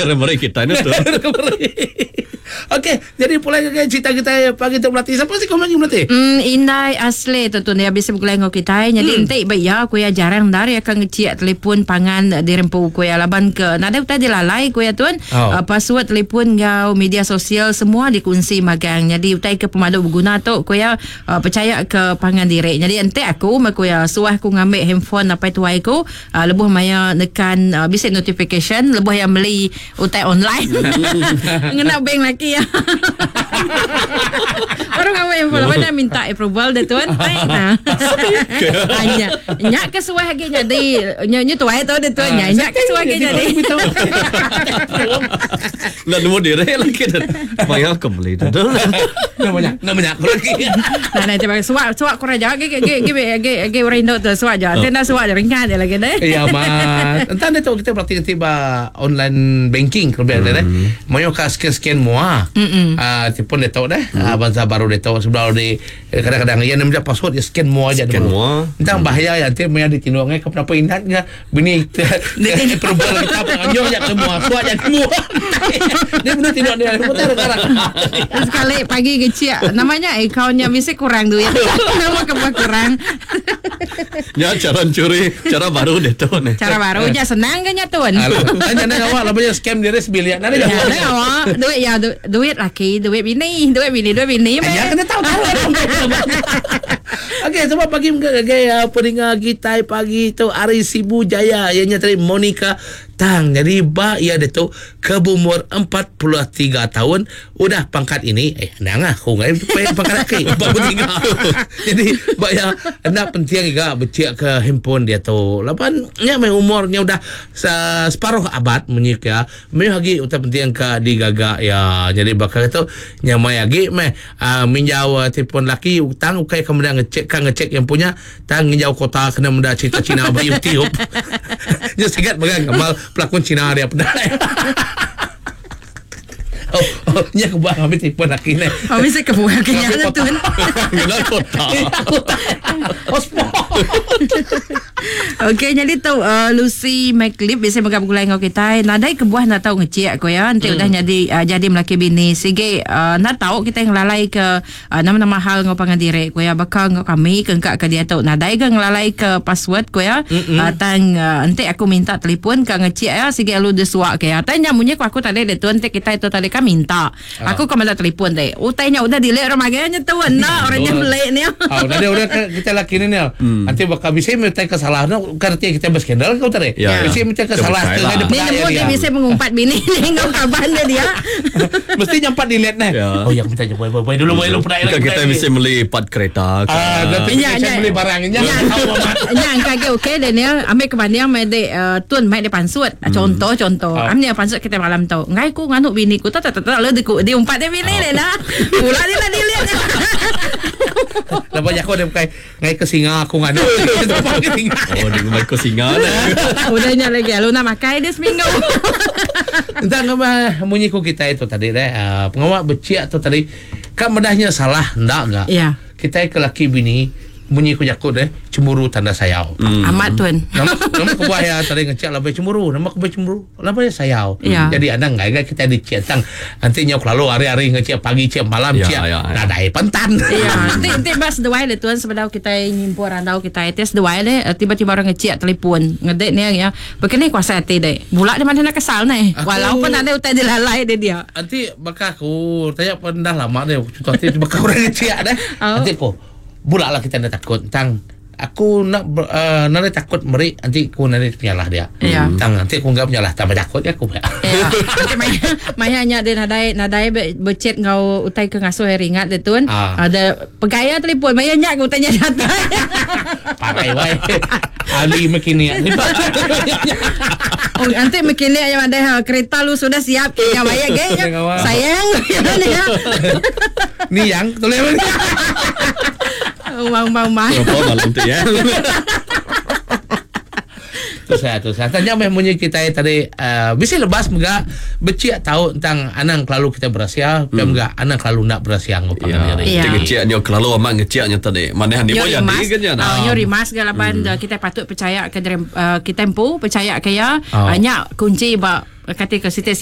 Orang meri kita ni tu. Okey, jadi pulai ngagai cerita kita pagi tu melati. Siapa sih komen melati? Hmm, indai asli tu tu dia bisa begulai enggau kitai. Jadi enti ba iya ku iya jarang endar iya ke ngechik telefon pangan dirempu ku iya laban ke nadai utai dilalai ku iya tun. Oh. Uh, password telefon enggau media sosial semua dikunsi magang. Jadi utai ke pemadu beguna tu ku iya uh, pechaya ke pangan diri. Jadi enti aku meh ku iya suah aku ngambi handphone apai tuai ku uh, lebuh maya nekan uh, bisi notification lebuh iya meli utai online. Ngena bank laki iya. Baru ngambi handphone laban dia minta approval dia tuan. Ai nah. Nya nya ke suah agi nyadi nya nya tuai tu dia tuan. Nya nya ke suah agi nyadi. Enda nemu diri lagi tu. Maya ke beli tu. Nama nya, nama nya aku lagi. Nah, nah, tiba suak suak kurang aja agi agi agi agi agi orang indu tu suak aja. Ti enda suak aja ringat dia lagi deh. Ya amat. Entah dia tu kita berarti nanti ba online banking ke lebih deh. Mayuh ka scan-scan mua. Ah telefon dia tu deh. Ah bansa baru dia tu sebelum di kadang-kadang iya nemu password dia scan mua aja Scan mua. Entah bahaya ya nanti maya ditinduk ngai ke kenapa ingat ke Bini approval kita penganjur nya semua suat nya semua. Dia benar tidak dia betul sekarang. Sekali pagi kecil namanya akaunnya mesti kurang duit. Nama kebuah kurang. Nya cara curi, cara baru dia tu ni. Cara baru nya senang ke nya tuan. Hanya nak awak lah banyak scam dia sebilik. Nak dia. Ya, awak duit ya duit laki, duit bini, duit bini, duit bini. Ya kena tahu tahu. Okey, selamat pagi mega ngagai uh, peninga kitai pagi tu ari Sibu Jaya iya nya tadi Monica Tang. Jadi ba iya ditu ke beumur 43 taun udah pangkat ini eh anang ah aku ngai pangkat aki 43. Jadi ba iya enda penting ga bechik ke handphone diatu laban nya meh umur nya udah separuh abad munyi ke mayuh agi utai penting ka digaga iya. Jadi baka tu nyamai agi meh Aa minjau telefon laki tang ukai ka meda ngecek ka ngecek iya empu nya tang nginjau kota kena meda cerita cina ba youtube. Nya sigat mega gamal pelakon cina dia peda. Oh, oh nya kebuah ngambi telefon laki neh. Oh bisi kebuah ke nya Ngambi tun. Ngena kota. Kota. Hotspot. Okey nyadi tu uh, Lucy McLeod bisi mega begulai enggau kitai. Nadai kebuah enda tau ngecik ko ya enti udah nyadi uh, jadi melaki bini sigi uh, enda tau kitai ngelalai ke uh, nama-nama hal enggau pangan diri ko ya baka enggau kami ke engka ke diatu nadai ga ngelalai ke password ko ya. Uh, tang uh, enti aku minta telefon ka ngecik ya sigi lalu disuak ke ya. Tang nya munyi ko aku tadi ditu enti kitai tu tadi kan minta. Aku ka meda telefon ti. Utai nya udah delete orang magai nya tu enda orang nya beli ni. Oh, nadi udah kita laki ni ni. Nanti bakal bisi meh utai ke salah no bukan reti kita berskandal ke tadi. Ya. Bisi meh utai ke salah ke ngai Ni dipeda nemu dia bisi mengumpat bini ni enggau kaban dia dia. Mesti nyampat delete neh. Ya. Oh, yang minta je boy boy boy dulu boy lu peda Bukan kita mesti meli part kereta ke. Ah, nanti Ya, kita ya. beli barang nya. Ya. Tahu amat. Nya angka agi okey Daniel ambil ke banding meh dek uh, tun mai dia pansut. Contoh contoh. Ah. Am nya pansut kita malam tu. Ngai ku nganu bini ku tak tak tak lalu di, di umpat dia bini dia nah. Pula dia nak delete. Lepas aku dia bukai ngai ke singa aku nganu. Tempat ke singa. Oh, dia ngumbai ko singa dah. Udah nya lagi lalu nak makai dia seminggu. Entah ngapa munyi ku kita itu tadi deh. Uh, pengawa beciak tu tadi ka medahnya salah enda ga. Ya. Kitai ke laki bini munyi ku jaku deh cemburu tanda sayau. Amat tuan. Nama nama kebuah iya tadi ngecek laban cemburu. Nama kebuah cemburu laban iya sayau. Ya. Jadi anang enggai ga kitai dicek tang enti nyau kelalu hari-hari ngecek pagi cek malam Ya, cek ya, ya. nadai pentan. Ya, enti enti ba seduai deh tuan sebedau kitai nyimpul randau kitai ti seduai deh eh, tiba-tiba orang ngecek telefon ngedek ni ya. Bekeni kuasa ati deh. Bula dia mana nak kesal neh. Aku- Walaupun ada utai dilalai dia dia. Enti baka aku tanya pun dah lama deh contoh enti baka orang ngecek deh. Oh. Enti ko bula lah kita enda takut tang aku nak uh, nadai takut meri enti ku nadai penyalah dia. Ya. Tang enti aku enggak penyalah tambah takut ya aku. Ya. Enti maya maya nya dia nadai nadai be, becet enggau utai ke ngasuh iya ringat dia tun. Ah. Ada pegaya telefon maya nya ke utai nya datai. Parai wai. Ali mekini. Oh, nanti mekini nya madai ha, kereta lu sudah siap ke nya maya ge nya. Sayang ya. Ni yang tulis ni. Umang umang umang. Berapa malam tu ya? Tu saya tu saya. Tanya meh munyi kita tadi uh, bisi lebas mega becik tau tentang anang kelalu kita berasia, hmm. mega anang kelalu nak berasia enggau pangan Ya. diri. Ya. Ti ngecek nyo kelalu amat ngecek nya tadi. Mana ni Nyo pun jadi rimas, kan nya. oh, nyo rimas ga laban hmm. kita patut percaya ke uh, kita empu percaya ke ya. Oh. Uh, nya kunci ba kati ke siti-siti.